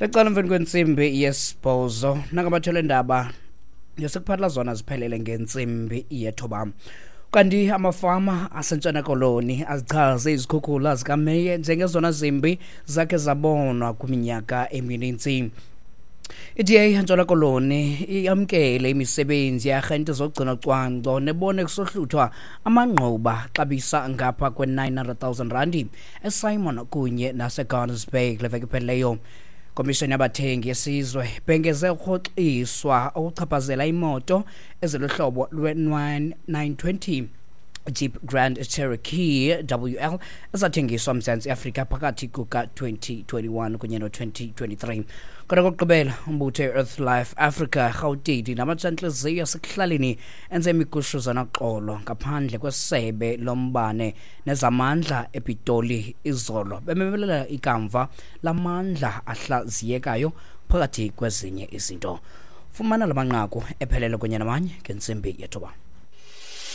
Lecala emveni kwentsimbi yesibhozo nangabathole ndaba ngesikuphathela zona ziphelele ngentsimbi yethoba. Kanti amafama aseNtshona Koloni azichaze izikhukhula zikaMeye njengezona zimbi zakhe zabonwa kwiminyaka emininzi. I-DA eNtshona Koloni iyamkele imisebenzi yearhente zogcino cwangco nebone kusohluthwa amangquba xabisa ngapha kwe-900,000 randi eSimon kunye naseGardens Bay kule veki iphelileyo. Komishoni yabathengi yesizwe ibhengeze ukurhoxiswa okuchaphazela imoto eziluhlobo lwe-920 Jeep Grand Cherokee WL ezathengiswa Mzantsi Afrika phakathi kuka-2021 kunye no-2023. Kodwa kokugqibela umbutho i-Earth Life Africa Rhawutini namatshantliziyo asekuhlaleni enze imigushuzo noxolo ngaphandle kwesebe lombane nezamandla ePitoli izolo bememelela ikamva lamandla ahlaziyekayo phakathi kwezinye izinto. Fumana la manqaku ephelele kunye namanye ngentsimbi yethoba.